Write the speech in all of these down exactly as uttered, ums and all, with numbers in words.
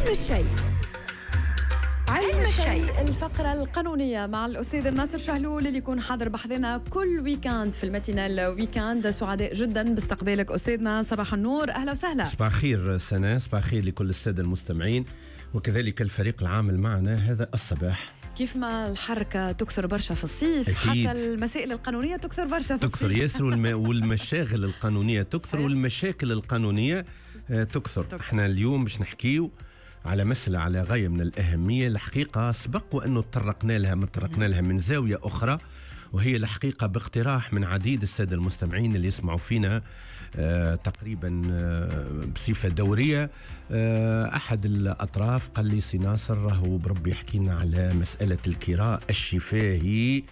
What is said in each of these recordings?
علم الشيء. علم الشيء، الفقرة القانونية مع الأستاذ الناصر شهلول اللي يكون حاضر بحذنا كل week-end في ال matinale week-end. سعداء جدا باستقبالك أستاذنا، صباح النور، أهلا وسهلا. صباح الخير سناء، صباح الخير لكل السادة المستمعين وكذلك الفريق العامل معنا هذا الصباح. كيف ما الحركة تكثر برشا في الصيف، أكيد. حتى المسائل القانونية تكثر برشا في تكثر الصيف. ياسر والم... والمشاغل القانونية تكثر. صحيح. والمشاكل القانونية آه، تكثر. تكثر. احنا اليوم باش نحكيو على مسألة على غاية من الأهمية، الحقيقة سبق وأنه تطرقنا لها ما تطرقنا لها من زاوية أخرى، وهي الحقيقة باقتراح من عديد السادة المستمعين اللي يسمعوا فينا آه تقريبا آه بصفة دورية. آه أحد الأطراف قال لي سي ناصر راهو بربي يحكي لنا على مسألة الكراء الشفاهي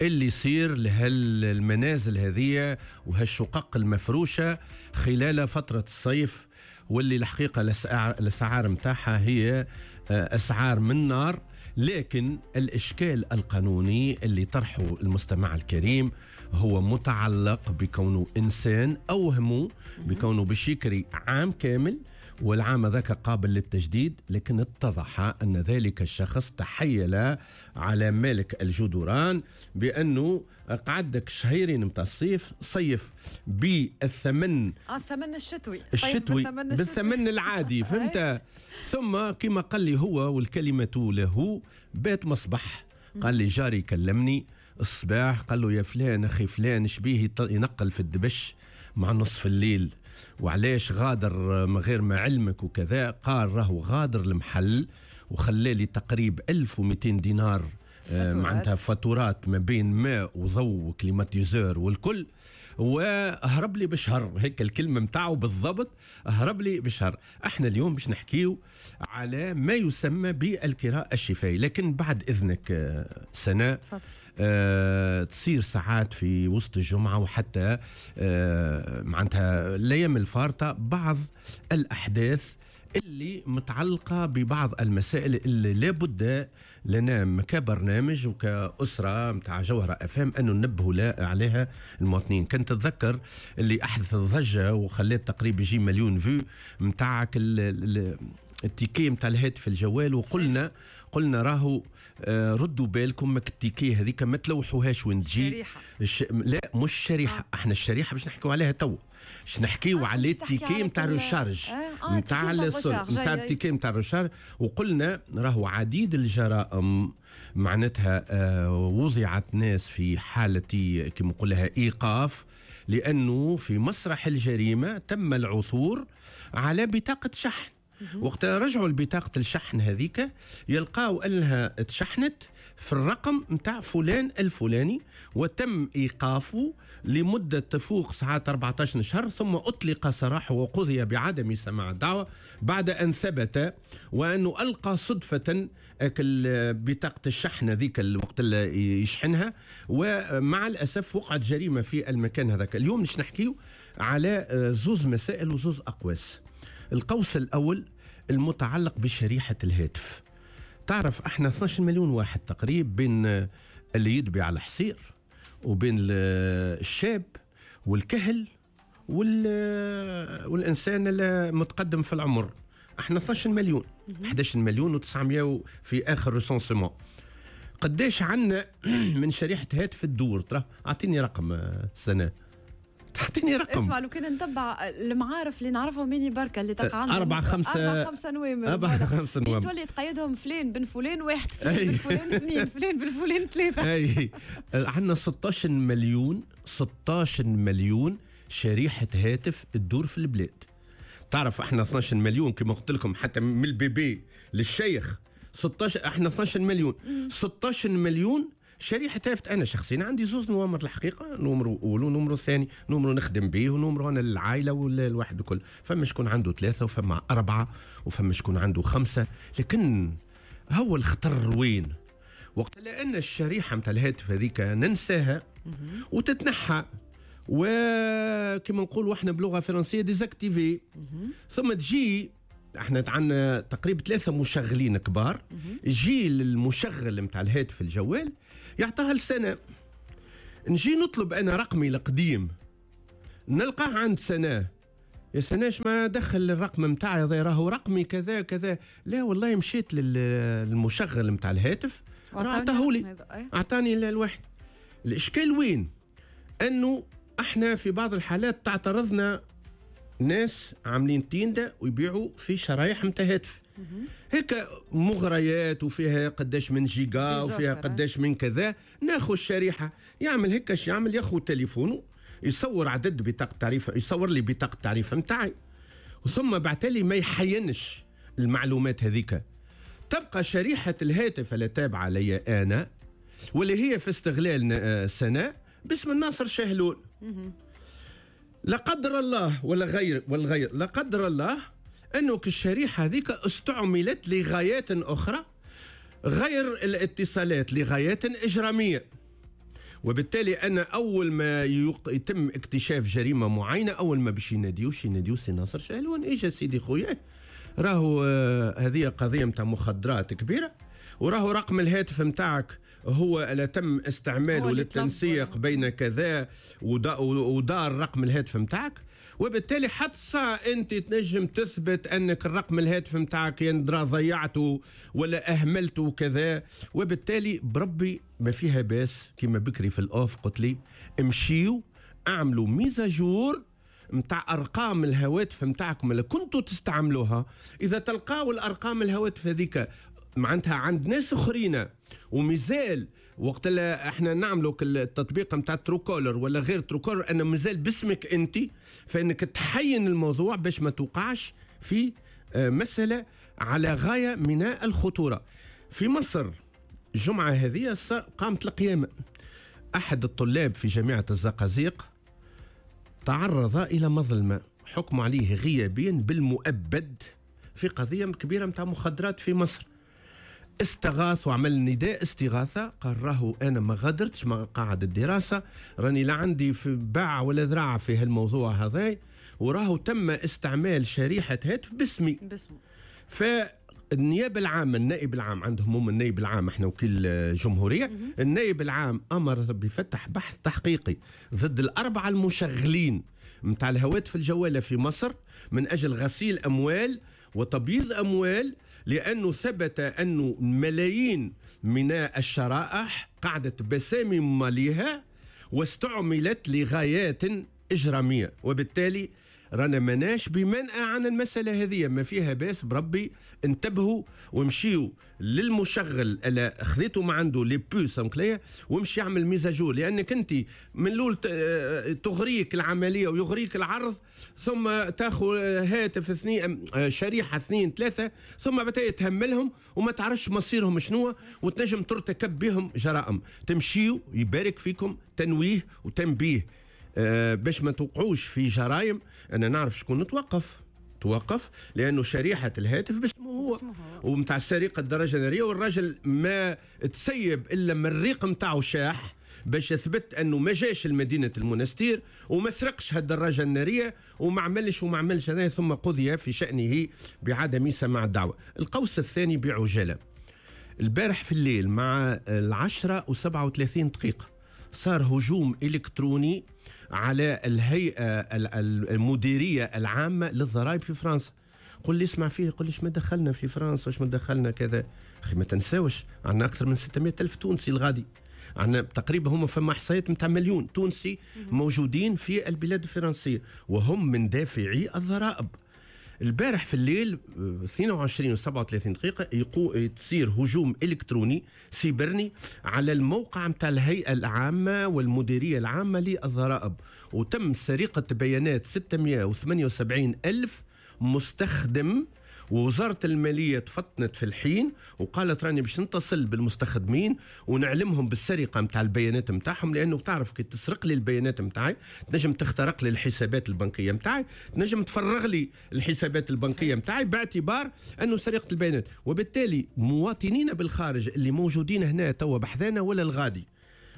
اللي يصير لهالمنازل هذه وهالشقق المفروشة خلال فترة الصيف، واللي الحقيقة الأسعار الأسعار متاعها هي آه، أسعار من نار. لكن الإشكال القانوني اللي طرحه المستمع الكريم هو متعلق بكونه إنسان أوهمه بكونه باش يكري عام كامل، والعام ذاك قابل للتجديد، لكن اتضح أن ذلك الشخص تحيل على مالك الجدران بأنه قعدك شهرين متاع الصيف، صيف بالثمن آه الثمن الشتوي، صيف الشتوي بالثمن الشتوي. بالثمن العادي، فهمت؟ ثم كما قال لي هو والكلمة له بات مصبح، قال لي جاري كلمني الصباح قال له يا فلان أخي فلان شبيه يط- ينقل في الدبش مع نصف الليل، وعلاش غادر من غير ما علمك وكذا. قال راهو غادر المحل وخلى لي تقريب ألف ومئتين دينار، آه، فاتورات. معناتها فاتورات ما بين ماء وضوء و climatiseur والكل، وهرب لي بشهر، هيك الكلمة متاعه بالضبط، هرب لي بشهر. احنا اليوم باش نحكيو على ما يسمى بالكراء الشفائي، لكن بعد إذنك آه، سناء. تفضل. آه، تصير ساعات في وسط الجمعة وحتى، آه، معناتها الأيام الفارطة بعض الأحداث اللي متعلقة ببعض المسائل اللي لابد لنا كبرنامج وكأسرة متاع جوهرة اف ام أنه ننبهوا لا- عليها المواطنين. كنت تتذكر اللي أحدث الضجة وخلات تقريبا يجي مليون vues متاعك ال-، ال-، ال ticket متاع الهاتف الجوال، وقلنا قلنا راهو، آه، ردوا بالكم ماك ال ticket هذيك ما تلوحوهاش وين تجي. شريحة. الش... لا مش شريحة. آه. احنا الشريحة باش نحكيو عليها تو، باش نحكيو آه، على تحكي ال ticket على نتاع كل- ال recharge. آه، آه، نتاع ال ticket نتاع السل- ال recharge. نتاع أي، أي. ال ticket نتاع ال recharge. وقلنا راهو عديد الجرائم معناتها، آه، وضعت ناس في حالة كما نقولها إيقاف، لأنه في مسرح الجريمة تم العثور على بطاقة شحن. وقت رجعوا لبطاقة الشحن هذيك يلقاو أنها تشحنت في الرقم متاع فلان الفلاني، وتم إيقافه لمدة تفوق ساعات أربعتاش شهر، ثم أطلق سراحه وقضي بعدم سماع الدعوة بعد أن ثبت وأنه ألقى صدفة أكل بطاقة الشحن هذيك الوقت اللي يشحنها، ومع الأسف وقعت جريمة في المكان هذاك. اليوم باش نحكيو على زوز مسائل وزوز أقواس. القوس الأول المتعلق بشريحة الهاتف. تعرف احنا اثناش مليون واحد تقريبا، بين اللي يدبي على الحصير وبين ال-، الشاب والكهل وال-، والإنسان المتقدم في العمر. احنا اثناش مليون، مهم. إحداش مليون وتسعمية في آخر recensement. قداش عندنا من شريحة هاتف الدور؟ ترى أعطيني رقم، آه، سنة. تعطيني رقم. اسمع، لو كان نتبع المعارف اللي نعرفهم ميني بركة اللي تقع عندهم أربعة خمسة أربعة خمسة نوامر. أربعة خمسة نوامر. تولي تقيدهم فلان بن فلان واحد، فلان أي. بن فلان اثنين، فلان بن فلان ثلاثة. أي. عندنا ستاش مليون، ستاش مليون شريحة هاتف تدور في البلاد. تعرف احنا اثناش مليون كما قلت لكم، حتى من ال bébé للشيخ ستاش، احنا اثناش مليون. مم. ستاش مليون شريحة هاتف. أنا شخصيا عندي زوز نوامر الحقيقة، نومرو أول ونومرو ثاني، نومرو نخدم به ونومرو أنا للعائلة والواحد الكل. فما شكون عنده ثلاثة وفما أربعة وفما شكون عنده خمسة. لكن هو الخطر وين؟ وقت لأن الشريحة متاع الهاتف هذيك ننساها مهم. وتتنحى، وكما نقولوا احنا بلغة فرنسية désactivée. مهم. ثم تجي احنا عندنا تقريبا ثلاثة مشغلين كبار، مهم. يجي المشغل متاع الهاتف الجوال يعطاها لسنة، نجي نطلب انا رقمي القديم نلقاه عند سنة، يا سناش ما دخل الرقم نتاعي راهو رقمي كذا كذا. لا والله مشيت للمشغل نتاع الهاتف اعطاه لي، اعطاني الواحد. الاشكال وين؟ انه احنا في بعض الحالات تعترضنا ناس عاملين تيندا ويبيعوا في شرايح نتاع هاتف هيك مغريات وفيها قداش من جيجا وفيها قداش من كذا. ناخذ الشريحة، يعمل هيك، يعمل ياخذ تليفونه يصور عدد بطاقة تعريف، يصور لي بطاقة التعريف نتاعي، ثم بعتلي ما يحينش المعلومات هذيك. تبقى شريحة الهاتف اللي تابعه لي انا واللي هي في استغلال سنة باسم الناصر شهلول. لا قدر الله ولا غير ولا غير لا قدر الله انه الشريحة هذيك استعملت لغايات اخرى غير الاتصالات، لغايات اجراميه. وبالتالي انا اول ما يتم اكتشاف جريمة معينة، اول ما باش يناديوش يناديو سي ناصر شهلون، ايش سيدي خويا راهو آه هذه قضية نتاع مخدرات كبيرة، وراهو رقم الهاتف نتاعك هو اللي تم استعماله للتنسيق بين كذا ودار رقم الهاتف نتاعك. وبالتالي حتى انت تنجم تثبت انك الرقم الهاتف نتاعك يندرى ضيعته ولا اهملته كذا. وبالتالي بربي ما فيها باس كما بكري في ال off قلت لي امشيو اعملوا mise à jour متاع ارقام الهواتف نتاعكم اللي كنتوا تستعملوها. اذا تلقاو الارقام الهواتف هذيك معناتها عند ناس اخرين ومازال وقت اللي احنا نعملوا التطبيق نتاع Truecaller ولا غير Truecaller انه مازال باسمك انت، فانك تحين الموضوع باش ما توقعش في مسالة على غاية من الخطورة. في مصر الجمعة هذه قامت القيامة، احد الطلاب في جامعه الزقازيق تعرض الى مظلمة، حكم عليه غيابيا بالمؤبد في قضية كبيرة نتاع مخدرات في مصر. استغاث وعمل نداء استغاثة، قال راهو أنا ما غادرتش ما قاعد الدراسة، راني لا عندي في باع ولا ذراع في هالموضوع هذا، وراهو تم استعمال شريحة هاتف باسمي. باسمه. فالنيابة العامة، النائب العام عندهم هم النائب العام، احنا وكيل جمهورية، النائب العام أمر بفتح بحث تحقيقي ضد الأربعة المشغلين متاع الهواتف الجوالة في مصر من أجل غسيل أموال وتبييض أموال، لأنه ثبت أنه ملايين من الشرائح قعدت بسامي ماليها واستعملت لغايات إجرامية. وبالتالي رانا مناش بمنأى عن المسألة هذه، ما فيها باس بربي انتبهوا ومشيوا للمشغل اللي خذيتوا ما عنده les puces مكلية ومشي يعمل mise à jour، لأنك أنت من الأول تغريك العملية ويغريك العرض، ثم تاخذ هاتف اثنين شريحة اثنين ثلاثة، ثم بعدين تهملهم وما تعرفش مصيرهم شنو، وتنجم ترتكب بهم جرائم. تمشيوا يبارك فيكم تنويه وتنبيه أه باش ما توقعوش في جرائم. انا نعرف شكون نتوقف توقف لانه شريحة الهاتف باسمه هو ومتاع سرقه الدرجة النارية، والراجل ما تسيب الا من الريق نتاعو شاح باش يثبت انه ما جاش لمدينة المنستير وما سرقش هالدراجه النارية وما عملش وما عملش هذا، ثم قضي في شانه بعدم سماع الدعوة. القوس الثاني بعجاله، البارح في الليل مع العشرة وسبعة وثلاثين دقيقة صار هجوم إلكتروني على الهيئة المديرية العامة للضرائب في فرنسا. قل لي اسمع فيه، قل لي ما دخلنا في فرنسا، ما دخلنا كذا. أخي ما تنساوش عندنا أكثر من ستمائة ألف تونسي الغادي، عندنا تقريبا هم فما إحصائيات متاع مليون تونسي موجودين في البلاد الفرنسية وهم من دافعي الضرائب. البارح في الليل اثنين وعشرين وسبعة وثلاثين دقيقة يقو تصير هجوم إلكتروني سيبرني على الموقع متاع الهيئة العامة والمديرية العامة للضرائب، وتم سرقة بيانات ستمائة وثمانية وسبعين ألف مستخدم. ووزارة المالية تفطنت في الحين وقالت راني باش نتصل بالمستخدمين ونعلمهم بالسرقة متاع البيانات متاعهم، لأنه تعرف كي تسرق لي البيانات متاعي تنجم تخترق لي الحسابات البنكية متاعي، تنجم تفرغ لي الحسابات البنكية متاعي باعتبار أنه سرقة البيانات. وبالتالي مواطنين بالخارج اللي موجودين هنا توا بحذانا ولا الغادي،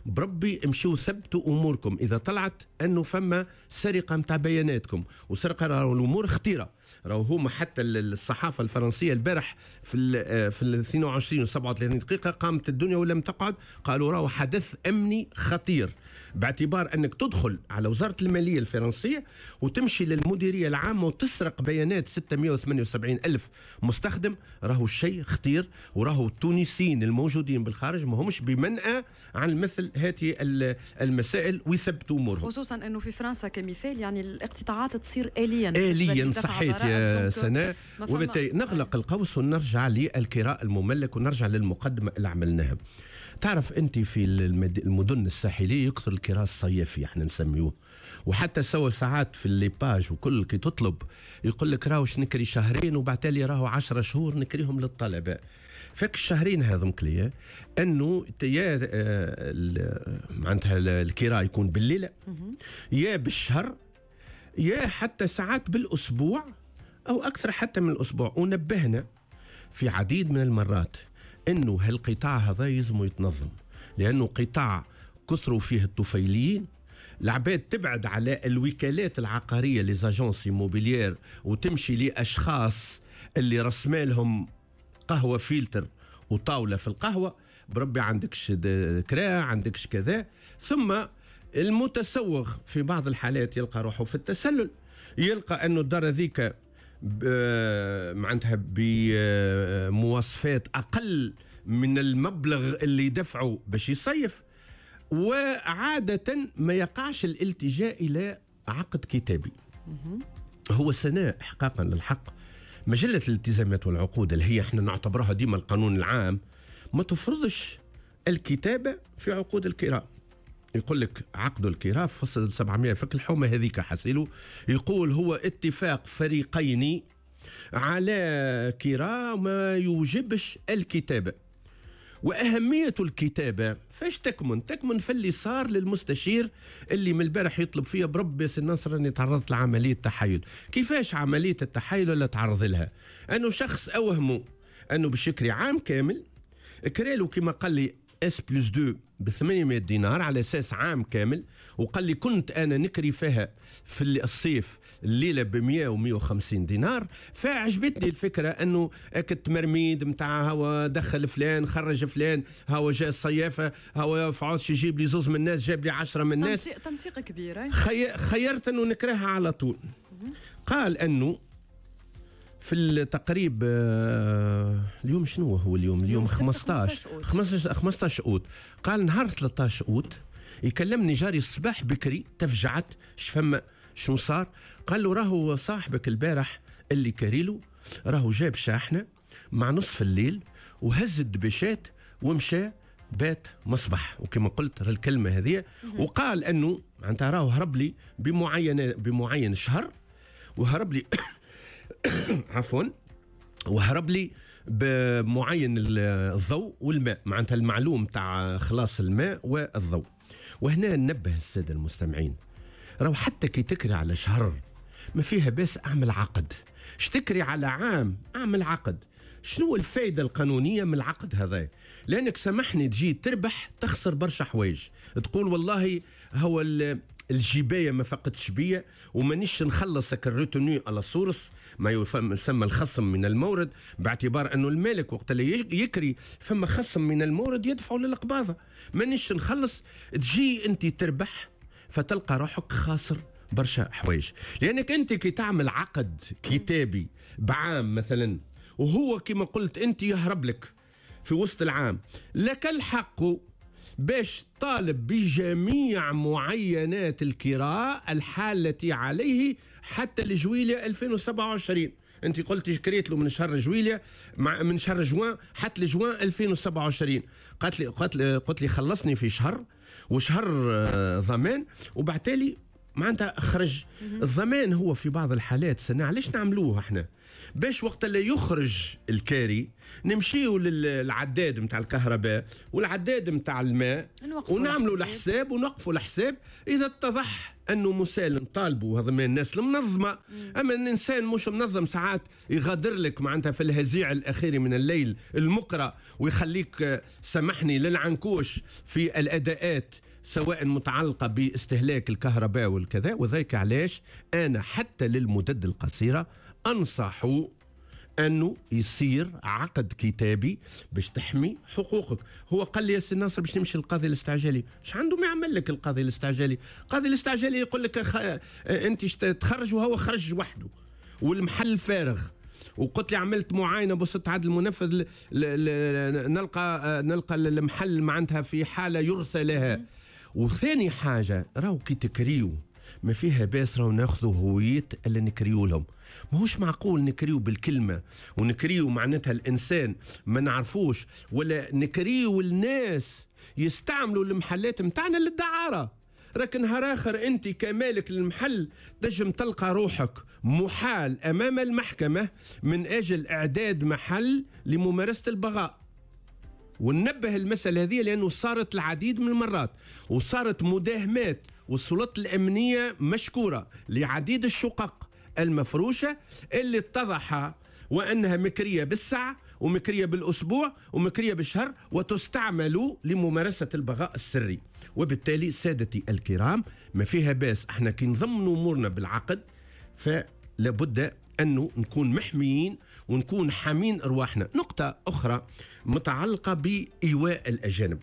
بربي امشوا ثبتوا اموركم اذا طلعت انه فما سرقه متاع بياناتكم وسرقة، الامور خطيرة. راهو هما حتى الصحافة الفرنسية البارح في ال في ال اثنين وعشرين و سبعة وثلاثين دقيقة قامت الدنيا ولم تقعد، قالوا راهو حدث امني خطير، باعتبار انك تدخل على وزارة المالية الفرنسية وتمشي للمديريه العامة وتسرق بيانات ستمئة وثمانية وسبعين ألف مستخدم، راهو الشيء خطير، وراهو التونسيين الموجودين بالخارج ما همش بمنأى عن مثل هذه المسائل ويثبتوا امورهم، خصوصا انه في فرنسا كمثال يعني الاقتطاعات تصير آليا آليا. صحيت يا سناء. وبالتالي نغلق القوس ونرجع للكراء المملك ونرجع للمقدمة اللي عملناها. تعرف انت في المدن الساحلية يكثر الكراء الصيفي احنا نسميوه، وحتى سوى ساعات في les pages وكل كي تطلب يقول لك راهوش نكري شهرين وبعتالي راهو عشرة شهور نكريهم للطلبة. فك الشهرين هذم كلية انه يا معناتها الكراء يكون بالليله يا بالشهر يا حتى ساعات بالاسبوع او اكثر حتى من الاسبوع. ونبهنا في عديد من المرات انه هالقطاع هذا يلزم يتنظم، لانه قطاع كثروا فيه الطفيليين، العباد تبعد على الوكالات العقارية les agences immobilières وتمشي لاشخاص اللي رسمالهم قهوة فيلتر وطاوله في القهوة، بربي عندكش كرا عندكش كذا. ثم المتسوغ في بعض الحالات يلقى روحه في التسلل، يلقى انه الدار هذيك معناتها بمواصفات اقل من المبلغ اللي دفعه باش يصيف، وعادة ما يقعش الالتجاء إلى عقد كتابي. هو سناء إحقاقا للحق مجلة الالتزامات والعقود اللي هي احنا نعتبرها ديما القانون العام ما تفرضش الكتابة في عقود الكراء. يقول لك عقد الكراء فصل سبعمئة فك الحومة هذيك حسيله، يقول هو اتفاق فريقين على كراء ما يوجبش الكتابة. وأهمية الكتابة فاش تكمن؟ تكمن في اللي صار للمستشير اللي من البارح يطلب فيها بربي سي ناصر أني تعرضت لعملية تحايل. كيفاش عملية التحايل ولا تعرض لها؟ أنه شخص أوهمه أنه باش يكري عام كامل، كريلو كما قال لي S plus deux ب ثمانمئة دينار على اساس عام كامل، وقال لي كنت انا نكري فيها في الصيف الليلة ب مئة و مئة وخمسين دينار، فعجبتني الفكرة انه التمرميد نتاع هو دخل فلان خرج فلان، هو جاء الصيافه، هو فعوش يجيب لي زوز من الناس جاب لي عشرة من الناس، تنسيق, تنسيق كبير. خي... خيرت انه نكرهها على طول. قال انه في التقريب اليوم شنو هو اليوم؟ اليوم خمسطاش خمسطاش اوت. قال نهار ثلاثطاش اوت يكلمني جاري الصباح بكري، تفجعت شفما شنو صار؟ قال له راهو صاحبك البارح اللي كاريلو راهو جاب شاحنة مع نصف الليل وهز الدبشات ومشى بات مصبح، وكما قلت الكلمة هذه. وقال انه معناتها راهو هرب لي بمعين بمعين شهر، وهرب لي عفوا وهرب لي بمعين الضوء والماء، معناتها المعلوم تاع خلاص الماء والضوء. وهنا ننبه السادة المستمعين، راهو حتى كي تكري على شهر ما فيها باس اعمل عقد، شتكري على عام اعمل عقد. شنو الفائدة القانونية من العقد هذا؟ لانك سامحني تجي تربح تخسر برشا حوايج، تقول والله هو الجبايه ما فقدتش بيا ومانيش نخلصك ال retenue à la source، ما يسمى الخصم من المورد، باعتبار انه المالك وقت اللي يكري فما خصم من المورد يدفعه للقباضه، مانيش نخلص. تجي انت تربح فتلقى روحك خاسر برشا حوايج، لانك انت كي تعمل عقد كتابي بعام مثلا وهو كما قلت انت يهرب لك في وسط العام، لك الحق باش طالب بجميع معينات الكراء الحالة عليه حتى لجويلية ألفين وسبعة وعشرين. انت قلت كريت له من شهر جويلية مع من شهر جوان حتى لجوان ألفين وسبعة وعشرين، قالت لي قالت لي قلت لي خلصني في شهر وشهر ضمان، وبعتالي معناتها خرج الضمان. هو في بعض الحالات سنة علاش نعملوه احنا؟ باش وقت اللي يخرج الكاري نمشيو للعداد نتاع الكهرباء والعداد نتاع الماء ونعملوا الحساب ونوقفوا الحساب. اذا اتضح انه مسالم طالبوا، هذا من الناس المنظمة. اما الانسان مش منظم ساعات يغادر لك معناتها في الهزيع الاخير من الليل المكره ويخليك سامحني للعنكوش في الاداءات سواء متعلقه باستهلاك الكهرباء والكذا. وذلك علاش انا حتى للمدد القصيرة انصح انه يصير عقد كتابي باش تحمي حقوقك. هو قال لي يا سي ناصر باش نمشي للقاضي الاستعجالي، اش عنده ما يعمل لك القاضي الاستعجالي؟ القاضي الاستعجالي يقول لك خ... انت تخرج وهو خرج وحده والمحل فارغ، وقلت لي عملت معاينة بوسط عدل المنفذ ل... ل... ل... نلقى نلقى المحل معناتها في حاله يرثى لها. وثاني حاجة راهو كي تكريو ما فيها باس، راهو ناخذوا هوية اللي نكريو لهم. ماهوش معقول نكريو بالكلمة ونكريو معناتها الانسان ما نعرفوش، ولا نكريو الناس يستعملوا المحلات متاعنا للدعاره. راك نهار اخر انت كمالك للمحل تنجم تلقى روحك محال امام المحكمة من اجل اعداد محل لممارسة البغاء. وننبه المسألة هذه لأنه صارت العديد من المرات وصارت مداهمات، والسلطات الأمنية مشكورة لعديد الشقق المفروشة اللي اتضح وأنها مكرية بالساعة ومكرية بالأسبوع ومكرية بالشهر وتستعمل لممارسة البغاء السري. وبالتالي سادتي الكرام ما فيها باس، احنا كي نضمن أمورنا بالعقد فلابد أنه نكون محميين ونكون حامين أرواحنا. نقطة أخرى متعلقة بإيواء الأجانب.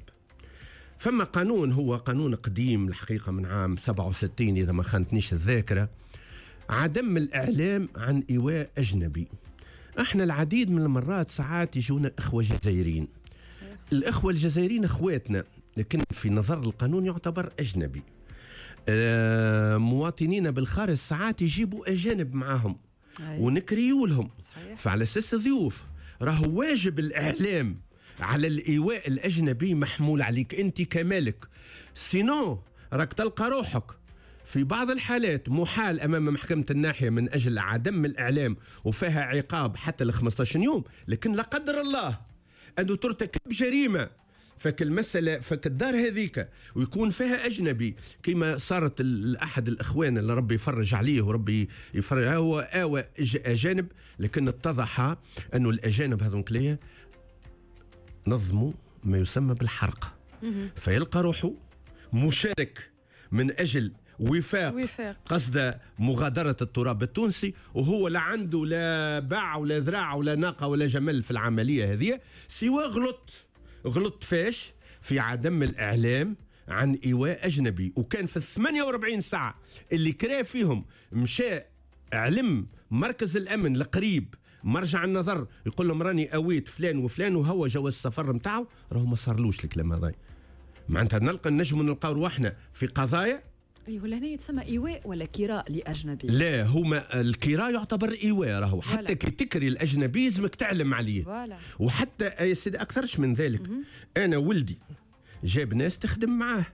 فما قانون، هو قانون قديم الحقيقة من عام سبعة وستين إذا ما خانتنيش الذاكرة، عدم الإعلام عن إيواء أجنبي. احنا العديد من المرات ساعات يجونا إخوة جزائريين. الإخوة الجزائريين إخواتنا، لكن في نظر القانون يعتبر أجنبي. اه مواطنين بالخارج ساعات يجيبوا أجانب معاهم ونكريوا لهم، فعلى أساس ضيوف. راهو واجب الإعلام على الإيواء الأجنبي محمول عليك أنت كمالك، sinon راك تلقى روحك في بعض الحالات محال أمام محكمة الناحية من أجل عدم الإعلام وفيها عقاب حتى ل خمسة عشر يوم. لكن لا قدر الله أنه ترتكب جريمة فك المسألة فك الدار هذيك ويكون فيها أجنبي، كما صارت أحد الإخوان اللي ربي يفرج عليه وربي يفرج، هو آوى أجانب، لكن اتضح أنه الأجانب هذوك ليه نظموا ما يسمى بالحرق، فيلقى روحه مشارك من أجل وفاق, وفاق. قصد مغادرة التراب التونسي، وهو لا عنده لا باع ولا ذراع ولا ناقة ولا جمل في العملية هذه، سوى غلط غلط فاش في عدم الإعلام عن إيواء أجنبي. وكان في الثمانية وأربعين ساعة اللي كرا فيهم مشى علم مركز الأمن القريب مرجع النظر يقول لهم راني أويت فلان وفلان وهو جواز السفر نتاعو، راهو ما صارلوش الكلام هذا. معناتها نلقى نجم نلقاو رواحنا في قضايا. اي ولا هنا يتسمى ايواء ولا كراء لاجنبي؟ لا، هما الكراء يعتبر ايواء، راهو حتى كي تكري الاجنبي لازمك تعلم عليه. voilà. وحتى يا سيدي اكثرش من ذلك. مم. انا ولدي جاب ناس تخدم معاه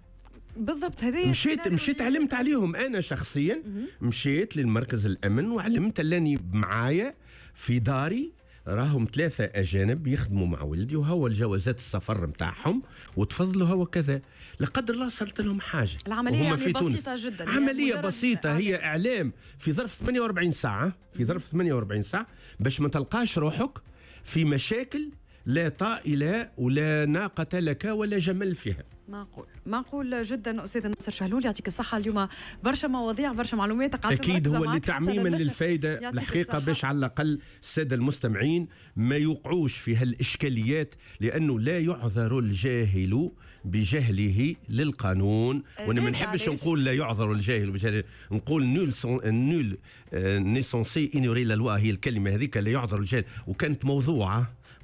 بالضبط، هذه مشيت مشيت علمت عليهم انا شخصيا. مم. مشيت للمركز الامن وعلمت اللاني معايا في داري راهم ثلاثة أجانب يخدموا مع ولدي وهو الجوازات السفر متاعهم وتفضلوا هو كذا. لا قدر الله صارت لهم حاجة. العملية يعني في بسيطة جدا، عملية بسيطة، هي إعلام في ظرف ثمانية وأربعين ساعة، في ظرف ثمانية وأربعين ساعة باش ما تلقاش روحك في مشاكل لا طائلة ولا ناقة لك ولا جمل فيها. معقول، معقول جدا. أستاذ ناصر شهلول يعطيك الصحة، اليوم برشا مواضيع برشا معلومات قعدت أكيد هو اللي تعميما للفايدة الحقيقة باش على الأقل السادة المستمعين ما يوقعوش في هالإشكاليات، لأنه لا يعذر الجاهل بجهله للقانون. وأنا ما نحبش نقول لا يعذر الجاهل بجهله، نقول nul nul n'est censé ignorer la loi، هي الكلمة هذيك لا يعذر الجاهل، وكانت موضوعة